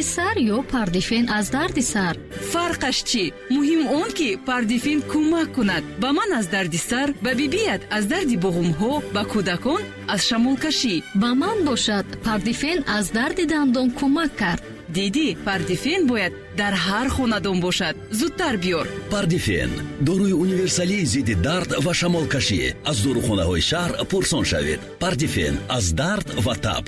Сар ё Пардифен аз дарди сар? Фарқаш чӣ? Муҳим он, ки Пардифен кӯмак кунад. Ба ман аз дарди сар, ба бибият аз дарди буғумҳо, ба кӯдакон аз шамолкашӣ. Ба ман бошад, Пардифен аз дарди дандон кӯмак кард. Дидӣ, Пардифен бояд дар ҳар хонадон бошад. Зудтар биёр. Пардифен, доруи универсалии зидди дард ва шамолкашӣ. Аз дорухонаҳои шаҳр пурсон шавед. Пардифен аз дард ва таб.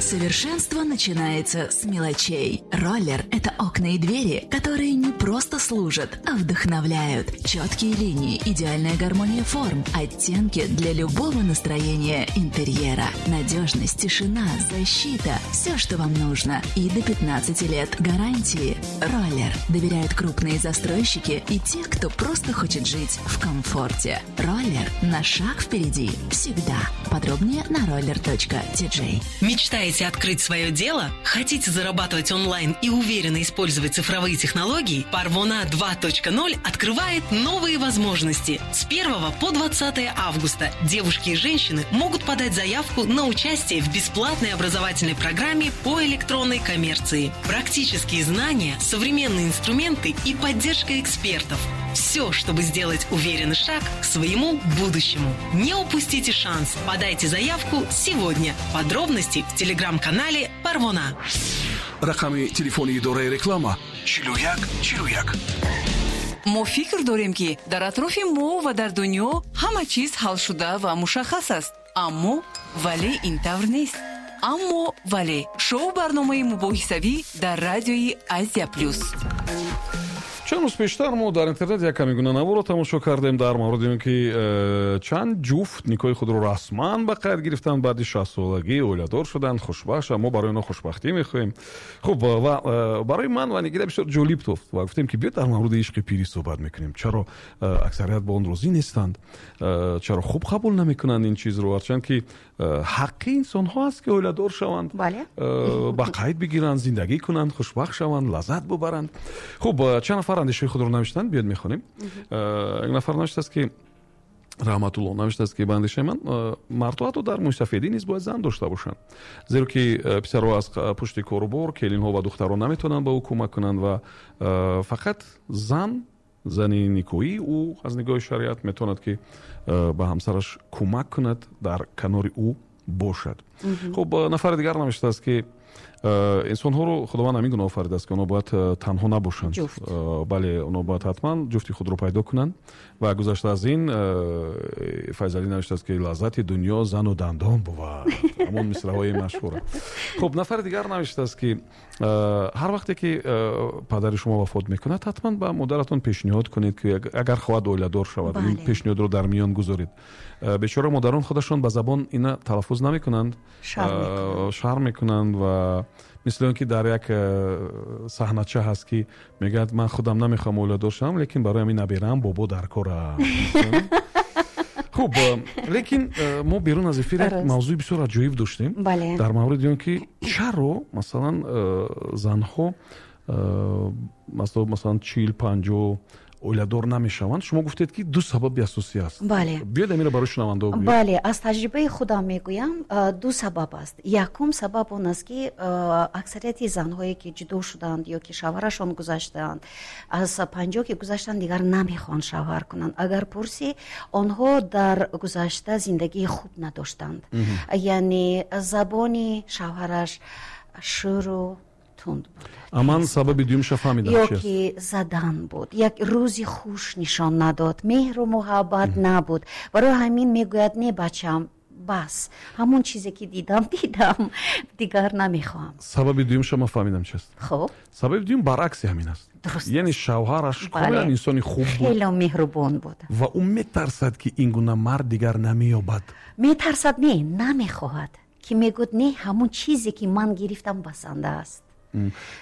Совершенство начинается с мелочей. Роллер – это окна и двери, которые не просто служат, а вдохновляют. Четкие линии, идеальная гармония форм, оттенки для любого настроения интерьера. Надежность, тишина, защита – все, что вам нужно. И до 15 лет гарантии. Роллер. Доверяют крупные застройщики и те, кто просто хочет жить в комфорте. Роллер на шаг впереди. Всегда. Подробнее на roller.tj. Мечтаете открыть свое дело? Хотите зарабатывать онлайн и уверенно использовать цифровые технологии? Парвона 2.0 открывает новые возможности. С 1 по 20 августа девушки и женщины могут подать заявку на участие в бесплатной образовательной программе по электронной коммерции. Практические знания, современные инструменты и поддержка экспертов. Все, чтобы сделать уверенный шаг к своему будущему. Не упустите шанс. Подайте заявку сегодня. Подробности в телеграм-канале Парвона. Рақами телефони идораи реклама: 41 41. Мо фикр дорем, ки дар атрофи мо ва дар дунё ҳама чиз ҳалшуда ва мушаххас аст, аммо вале ин тавр нест. Аммо вале — шоу барномаи мубоҳисавӣ дар радиои Азия Плюс. Чанд рӯз пештар мо дар интернет як каме гуна наворо тамошо кардем дар мавриди он, ки чанд ҷуфт никоҳи худро расман ба қайд гирифтанд, баъди 60-солагӣ оиладор шуданд, хушбахт. Мо барои онҳо хушбахтӣ мехоҳем. Хуб, ва барои ман ва Нигина бисёр ҷолиб тофт ва гуфтем, ки биё, дар мавриди ишқи пирӣ суҳбат мекунем. Чаро аксарият ба он розӣ нестанд, чаро хуб қабул намекунанд ин чизро, ҳарчанд ки ҳаққи инсонҳо аст, ки оиладор шаванд, ба қайд бигиранд, зиндагӣ кунанд, хушбахт шаванд, лаззат бубаранд. Хуб, чанд нафар андешаи худро навиштанд, биёд мехонем. Як нафар навиштааст, ки Раҳматулло навиштааст, ки ба андешаи ман, мардҳо ҳатто дар мӯйсафедӣ низ бояд зан дошта бошанд, зеро ки писарҳо аз пушти корубор, келинҳо ва духтарон наметавонанд ба ӯ кӯмак кунанд ва фақат зан, зани никоҳӣ, ӯ аз нигоҳи шариат метавонад, ки ба ҳамсараш кӯмак кунад, дар канори ӯ бошад. Хуб, нафари дигар навиштааст, ки инсонҳоро Худованд ҳамин гуна офаридааст, ки онҳо бояд танҳо набошанд. Бале, онҳо бояд ҳатман ҷуфти худро пайдо кунанд. Ва гузашта аз ин, Файзалӣ навиштааст, ки лаззати дунё зану дандон бувад, ҳамон мисраҳои машҳура. Хуб, нафари дигар навиштааст, ки ҳар вақте ки падари шумо вафот мекунад, ҳатман ба модаратон пешниҳод кунед, ки агар хоҳад, оиладор шавад. Ин пешниҳодро дар миён гузоред. Бечора модарон худашон ба забон ина талаффуз намекунанд, шарм мекунанд ва мисли он ки дар як саҳнача ҳаст, ки мегӯяд: «Ман худам намехоҳам оиладор шавам, лекин барои ҳамин набераам бобо дар кора». Хуб, лекин мо берун аз эфир як мавзӯи бисёр аҷоиб доштем дар мавриди он, ки чаро, масалан, занҳо, масалан, 40, 50 оиладор намешаванд. Шумо гуфтед, ки ду сабаби асосӣ аст. Бале. Биёед, амира барои шунавандао гӯед. Бале, аз таҷрибаи худам мегӯям, ду сабаб аст. Якум сабаб он аст, ки аксарияти занҳое, ки ҷудо шуданд ё ки шавҳарашон гузаштаанд, аз 50 ки гузаштанд, дигар намехоҳанд шавҳар кунанд. Агар пурсӣ, онҳо дар гузашта зиндагии хуб надоштанд, яъне забони шавҳараш шӯру тунд буд. А ман сабаби дуюмша фаҳмидам. Ё ки задан буд, як рӯзи хуш нишон надод, меҳру муҳаббат набуд. Барои ҳамин мегӯяд: «Не, бачам, бас, ҳамон чизе ки дидам, дидам, дигар намехоҳам». Сабаби дуюмша ман фаҳмидам чист. Хуб. Сабаби дуюм баръакси ҳамин аст. Яъне шавҳараш комилан инсони хуб буд, хеле меҳрубон буд. Ва ӯ метарсад, ки ин гуна мард дигар намеёбад. Метарсад не, намехоҳад, ки мегӯяд: «Не, ҳамон чизе ки ман гирифтам, басанда аст».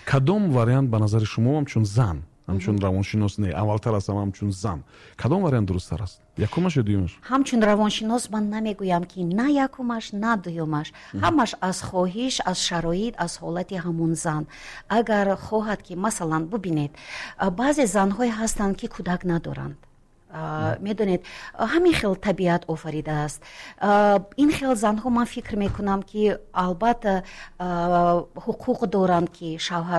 Кадом вариант ба назари шумо, ҳамчун зан, ҳамчун равоншинос, не, аввалтар аз ҳама ҳамчун зан, кадом вариант дурусттар аст, якумаш ё дуюмаш? Ҳамчун равоншинос ман намегӯям, ки на якумаш, на дуюмаш. Ҳамаш аз хоҳиш, аз шароит, аз ҳолати ҳамун зан. Агар хоҳад, ки, масалан, бубинед, баъзе занҳое ҳастанд, ки кӯдак надоранд. Медонед, ҳамин хел табиат офаридааст. Ин хел занҳо, ман фикр мекунам, ки албатта ҳуқуқ доранд, ки шавҳар